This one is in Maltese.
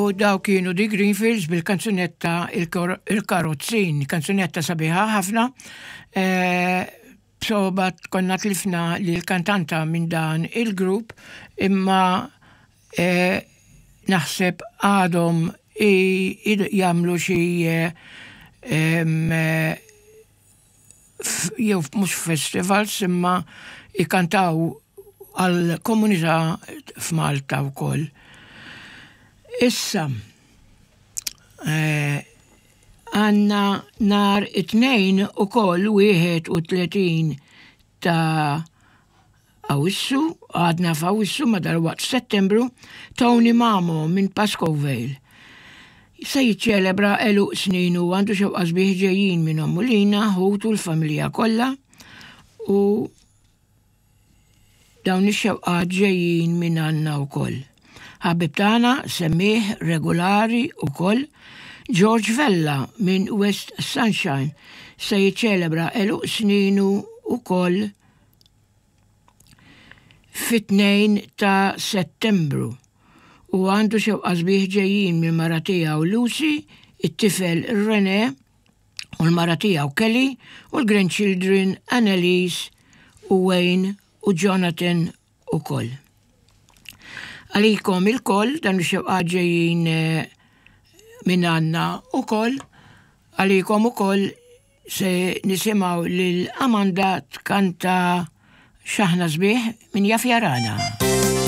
U daw kienu The Greenfields bil-kanzunetta Il-Karozzin, kanzunetta sabiħa ħafna. Eh, b'soba konna tlifna li l-kantanta minn dan il-grupp imma eh, naħseb għadhom jagħmlu xi eh, jew mhux festivals imma jkantaw għal komunità f'Malta wkoll. Issa, eh, għanna nar it-tnejn ukoll 31 ta' Awwissu, għadna f'Awwissu ma dalwaqt f'Settembru, Tony Mamo minn Pascoe Vale se jiċċelebra għeluq sninu u għandu xewqa sbieħ ġejjin minn ommu Lina, ħutu l-familja kollha u dawn ix-xewqat ġejjin minn għandna wkoll. Ħabib tagħna semmieh regolari wkoll George Vella minn West Sunshine se jiċċelebra għeluq sninu wkoll fit-2 ta' Settembru u għandu xewqa sbieħ ġejjin mill-mara tiegħu Lucy, it-tifel Rene u l-mara tiegħu Kelly u l-grandchildren Annalise u Wayne u Jonathan ukoll. Għalikom ilkoll dan ix-xewqat ġejjin eh, minn għandna ukoll, għalikom ukoll Se nisimgħu lil Amanda tkanta X'aħna sbieħ min jaf jarana.